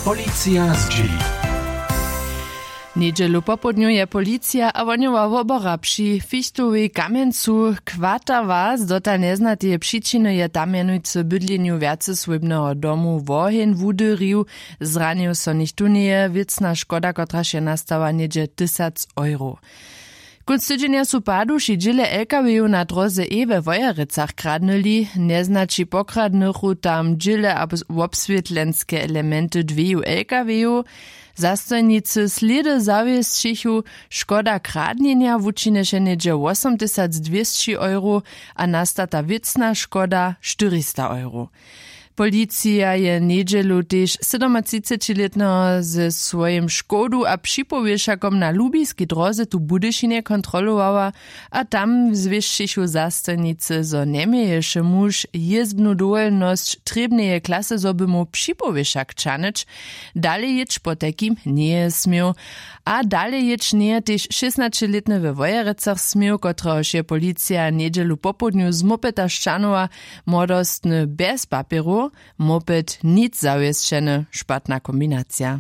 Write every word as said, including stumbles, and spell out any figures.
Policija zdźěli. Njedźelu popołdnju je policija a wohnjowa wobora při fichtowej kamjencu kwatała z dotal njeznateje přičiny je tam mjenujcy w bydlenju wjacesłójbneho domu woheń wudyrił. Zranił so nichtó njeje wěcna škoda kotraž je nastała něhdźe tysac euro. Kónc tydźenja su paduši dźěle lkw-jow na dróze e we wojerecach kradnyli. Njeznaći pokradnychu tam dźěle a wobswětlenske elementy dweju lkw-jow. Zastojnicy slědy zawěsćichu, škoda kradnjenja wučinješe něhdźe wosomtysacdwěsći euro a nastata wěcna škoda štyrista euro. Policija je njedźelu tež sydomatřicećilětneho ze swojim škodu a připowěšakom na lubiskej dróze tu w budyšinje kontrolowała. A tam zwěsćichu zastojnicy zo njeměješe muž jězbnu dowolnosć trěbneje klasy zo by móhł připowěšak ćahnyć. Dalej jěć potajkim njeje směł. A dalej jěć njeje tež šěsnaćelětny we wojerecach směł kotrehož je policija njedźelu popołdnju z mopeta šćanowa. Młodostny bjez papjerow, moped nic zawěsćeny, špatna kombinacija.